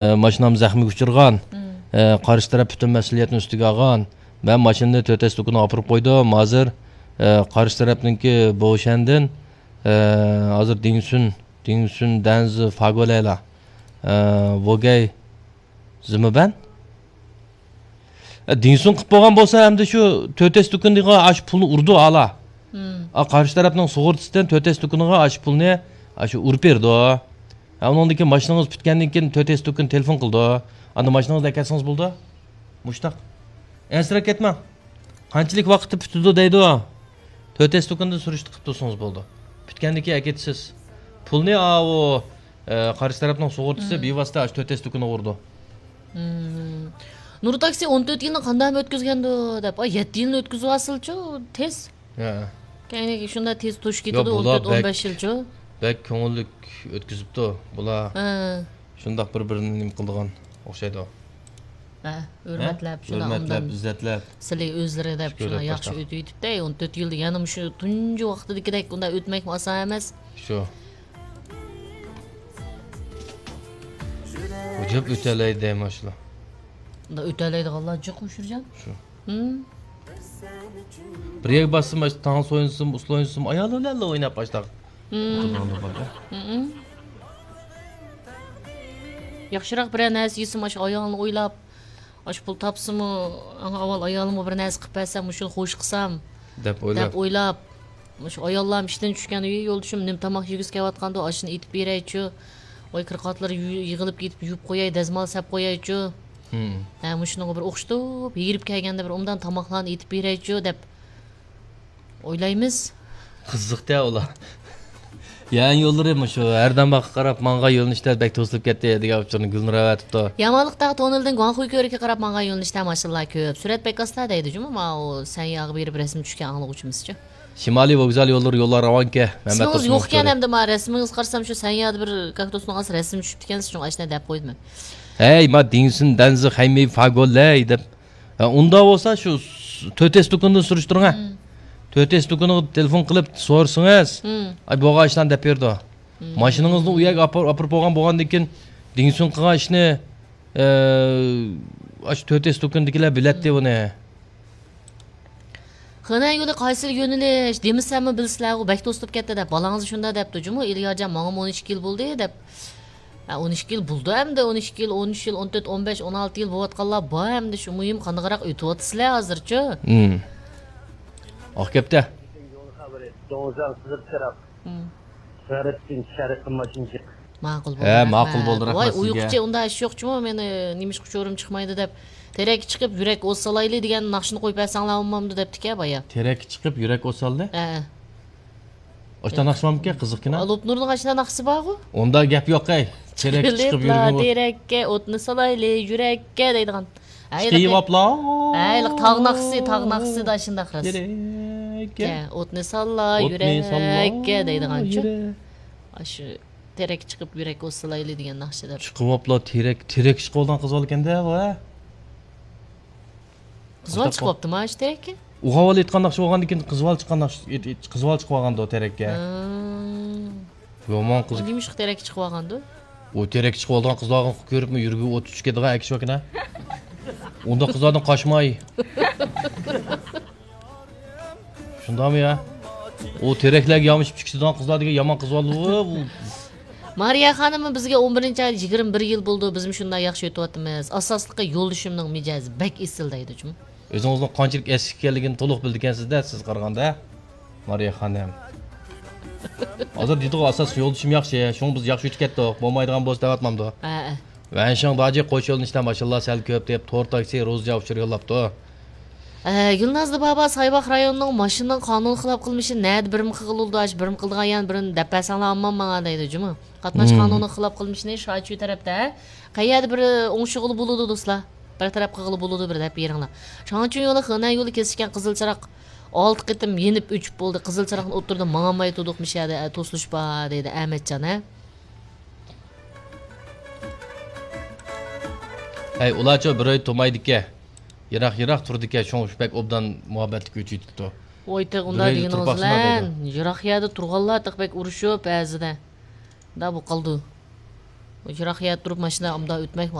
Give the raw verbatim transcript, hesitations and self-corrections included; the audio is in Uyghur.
ئە، ماشىنام زەخمىگە ئۇچرىغان. مم. ئە، قارشى تەرەپ پۈتۈن مەسئۇلىيەتنى ئۈستىگە ئالغان. مەن ماشىنىنى تۆت ئەس دۇكىنىغا ئاپىرىپ قويدۇم. ھازىر، ئە، قارشى تەرەپنىڭكى بوۋشەندىن، ئە، ھازىر دىڭسۈن، دىڭسۈن دەنزى فاگولەيلا، ئە، ۋوگەي زىمىبەن. ئە، دىڭسۇن قىلىپ بولغان بولسا، ئەمدى شۇ تۆت ئەس دۇكىنىغا ئاشۇ پۇلنى ئۇرىدۇ ئالا. مم. ئا، قارشى تەرەپنىڭ سۇغۇرتىسىدىن تۆت ئەس دۇكىنىغا ئاشۇ پۇلنى، ئاشۇ ئۇرۇپ بېرىدۇ. ھە، ئۇنىڭدىن كېيىن ماشىنىڭىز پۈتكەندىن كېيىن تۆت ئەس دۇكىنى تېلېفون قىلىدۇ. ئاندا ماشىنىڭىزنى ئەكەتسىڭىز بولىدۇ. مۇشتاق. ئەنسىرەپ كەتمەڭ. قانچىلىك ۋاقىتتا پۈتىدۇ دەيدۇ. تۆت ئەس دۇكىنىدا سۈرۈشتە قىلىپ تۇرسىڭىز بولىدۇ. پۈتكەندىن كېيىن ئەكېتىسىز. پۇلنى ئاۋۇ، ئە، قارشى تەرەپنىڭ سۇغۇرتىسى مم. بىۋاسىتە ئاشۇ تۆت ئەس دۇكىنىغا ئۇرىدۇ. مم. نۇر تاكسى ئون تۆت يىلنى قانداقمۇ ئۆتكۈزگەندۇ دەپ. ئاي، يەتتە يىلنى ئۆتكۈزۈۋالسىلىچۇ، تېز. ھە. كەينىگە شۇنداق تېز توشۇپ يا، كېتىدۇ، ئون تۆت، بۇلار بەك، ئون بەش يىلچۇ. بەك كۆڭۈللۈك ئۆتكۈزۈپتۇ بۇلار. ھە. شۇنداق بىر بىرىنى نېمە قىلىدىغان ئوخشايدۇ. ھە، ھە؟ ھۆرمەتلەپ، شۇنداق ھۆرمەتلەپ، ئوبدان ئىززەتلەپ. سىلى ئۆزلىرى دەپ شۈكۈر شۇنداق دەپ ياخشى باشلاپ. ئۆتۈۋېتىپتۇ. ئون تۆت يىلدا يەنە مۇشۇ تۇنجى ۋاقتىدىكىدەك ئۇنداق ئۆتمەكمۇ ئاسان ئەمەس. شۇ. ئۇجۇپ ئۆتەلەيدۇ ماشۇلار. ئۇنداق ئۆتەلەيدىغانلار جىق مۇشۇرجان. شۇ. ھىم. بىر يەرگە بارسىمۇ، تانس ئوينىسىمۇ، ئۇسسۇل ئوينىسىمۇ، ئايالى بىلەن ئويناپ باشلاق. ھىم. ئولتۇرغاندا بار. ھىم. ياخشىراق بىرەر نەرسە يېسىمۇ، ئاشۇ ئايالىنى ئويلاپ، ئاشۇ پۇل تاپسىمۇ، ئەڭ ئاۋۋال ئايالىمغا بىر نەرسە قىلىپ بەرسەم، مۇشۇنى خوش قىلسام، دەپ ئويلاپ. دەپ ئويلاپ. مۇشۇ ئاياللارمۇ ئىشتىن چۈشكەن، ئۆي يولدىشىم نېمە تاماق يېگۈسى كېلىۋاتقاندۇ، ئاشۇنى ئېتىپ بېرەيچۇ. ۋاي، كىرقاتلىرى يۇ-، يىغىلىپ كېتىپ يۇيۇپ قوياي، دەزمال سەپ قويايچۇ. ھىم. ھە، مۇشۇنىڭغا بىر ئوخشىتىپ، ھېرىپ كەلگەندە بىر ئوبدان تاماقلارنى ئېتىپ بېرەيچۇ، دەپ ئويلايمىز. قىزىقتە ئۇلار. يەنى يوللىرى مۇشۇ ھەردەمباغقا قاراپ ماڭغان يۆنىلىشتە بەك توسۇلۇپ كەتتى دېگەن ئۇچۇرنى گۈلنۇر ئەۋەتىپتۇ. يامانلىق تاغ توننېلىدىن گۇاڭخۇي كۆۋرۈكىگە قاراپ ماڭغان يۆنىلىشتە ماشىنىلار كۆپ. سۈرئەت بەك ئاستا دەيدۇ جۇمۇ، ماۋۇ سەنياغا بېرىپ رەسىم چۈشكەن ئاڭلىغۇچىمىزچۇ. شىمالىي ۋوگزال يوللىرى يوللار راۋانكەن، مەمەت سىزىڭىز ئوسمانوف يوقكەن كۆرۈپ. ئەمدى ما رەسىمىڭىز قارىسام، شۇ سەنيادا بىر كاكتۇسنىڭ ئاستىدا رەسىم چۈشۈپتىكەن، شۇڭا ئاشۇنداق دەپ قويدۇم مەن. ھەي، ما دىڭسىن دەنزى خەيمەي فاگولەي دەپ. ھە، ئۇنداق بولسا شۇ س-، تۆت ئەس دۇكىنىدىن سۈرۈشتۈرۈڭ، ھە. مم. تۆت ئەس دۇكىنىغا تېلېفون قىلىپ سورىسىڭىز، مم. ئاي، بولغان ئىشلارنى دەپ بېرىدۇ. مم. ماشىنىڭىزنى ئۇ يەرگە ئاپار-، ئاپىرىپ بولغان، بولغاندىن كېيىن دىڭسۇن قىلغان ئىشنى، ئە، ئاشۇ تۆت ئەس دۇكىنىدىكىلەر بىلەتتى مم. ئۇنى. خېنەن يولى قايسى يۆنىلىش دېمىسەممۇ بىلىسىلەرغۇ، بەك توسۇلۇپ كەتتى دەپ. بالاڭىز شۇنداق دەپتۇ جۇمۇ، ئىليارجان، ماڭىمۇ ئون ئىككى يىل بولدى دەپ. ھە، ئون ئىككى يىل بولدى ئەمدى، ئون ئىككى يىل، ئون ئۈچ يىل، ئون تۆت، ئون بەش، ئون ئالتە يىل بولۇۋاتقانلار بار ئەمدى، شۇ مۇھىم قانداقراق ئۆتۈۋاتىسىلەر ھازىرچۇ؟ ھىم. ئاق كەپتە. دوڭزاڭ قىزىل چىراغ. ھىم. غەربتىن شەرققە ماشىنا جىق. ماقۇل ھە، بولدى، ماقۇل رەھمەت. بولدى، رەھمەت ۋاي، سىزگە. ئۇيقۇچى ئۇنداق ئىش يوق جۇمۇ، مېنى نېمىشقا ئۇچۇرۇم چىقمايدۇ دەپ، تېرەككە چىقىپ يۈرەك ئوت سالايلى دېگەن ناخشىنى قويۇپ بەرسەڭلار بولمامدۇ دەپتىكەن بايا. تېرەككە چىقىپ يۈرەك ئوت سالدى؟ ھە. ئاشۇنداق ناخشا بارمىكەن؟ قىزىقكىنا. لوپنۇرنىڭ ئاشۇنداق ناخشىسى بارغۇ. ئۇنداق گەپ يوق ئەي. تېرەككە چىقىپ چىقىپلا يۈرگىنى. تېرەككە ئوتنى سالايلى يۈرەككە دەيدىغان. ھە، چىقىۋاپلا. ھە، ھېلىقى تاغ ناخشىسى، تاغ ناخشىسىدا شۇنداق راست. يۈرەككە. ئوتنى ساللا، ئوتنى ساللا، يۈرەككە دەيدىغانچۇ. يۈرەك. ئاشۇ تېرەك چىقىپ يۈرەك ئوت سالايلى دېگەن ناخشىدا. چىقىۋاپلا تېرەك، تېرەك چىقىۋالغان قىز بالىكەن-دە بۇ، ھە؟ قىز بالا چىقىۋاپتىما شۇ تېرەككە؟ ئۇ ھاۋالى ئېيتقان ناخشا بولغاندىن كېيىن قىز بالا چىققان ناخشا، قىز بالا چىقىۋالغاندۇ تېرەككە. ھا. يامان قىز. نېمىشقا تېرەككە چىقىۋالغاندۇ؟ ئۇ تېرەككە چىقىۋالىدىغان قىزلارنى كۆرۈپمۇ يۈرىكى ئوت چۈشۈپ كېتىدىغان ئەكىشىۋاكىنا. ئۇنداق قىزلاردىن قاچماي. شۇنداقمۇ يا؟ ئۇ تېرەكلەرگە يامىشىپ چىقىدىغان قىزلار دېگەن يامان قىز بالىدۇ بۇ. مارىيە خانىممۇ بىزگە ئون بىرىنچى ئايدا يىگىرمە بىر يىل بولىدۇ، بىزمۇ شۇنداق ياخشى ئۆتۈۋاتىمىز. ئاساسلىقى يولدىشىمنىڭ مىجەزى بەك ئېسىل دەيدۇ جۇمۇ. ئۆزىڭىزنىڭ قانچىلىك ئەسكى ئىكەنلىكىنى تولۇق بىلىدىكەنسىز-دە سىز قارىغاندا، مارىيە خانىم. ھازىر دېدىغۇ ئاساس يولدىشىم ياخشى، شۇڭا بىز ياخشى ئۆتۈپ كەتتۇق، بولمايدىغان بولسا دەۋاتمامدۇ؟ ھەئە. ۋەنشىڭ داجى قوش يۆنىلىشتە ماشىنىلار سەل كۆپ دەپ تور تاكسى روزى ئۇچۇر يوللاپتۇ. ئە، گۈلنازلى بابا، سايباغ رايونىنىڭ ماشىنىنىڭ قانۇن خىلاپ قىلمىشى نەدە بىرىمە قىلغىلى بولىدۇ، ئاشۇ بىرىمە قىلىدىغان يەرنى بىرىمە دەپ بەرسەڭلار ئاممان ماڭا دەيدۇ جۇمۇ. قاتناش مم. قانۇنىنىڭ خىلاپ قىلمىشىنى شاچۈ تەرەپتە، قەيەردە بىر ئوڭشىغىلى بولىدۇ دوستلار. بىر تەرەپ قىلغىلى بولىدۇ بىر دەپ بېرىڭلار. شاڭچۈن يولى خېنەن يولى كېسىشكەن قىزىل چىراغ ئالتە قېتىم يېنىپ ئۆچۈپ بولدى. قىزىل چىراغنىڭ ئوتتۇرىدا ماڭالماي تۇردۇق، مۇشۇ يەردە توسۇلۇش بار دەيدۇ ئەمەتجان، ھە؟ ھەي، ئۇلارچۇ بىر ئۆي تۇرمايدىكەن. يىراق-يىراق تۇرىدىكەن، شۇڭا بەك ئوبدان مۇھەببەتلىك ئۆچۈۋېتىپتۇ. ۋاي، تېخى ئۇنداق دېگىنىڭىز بىلەن، يىراق يەردە تۇرغانلار تېخى بەك ئۇرۇشۇپ بەزىدە. دا بۇ قالدى. يىراق يەردە تۇرۇپ ماشىنا ئۇنداق ئۆتمەك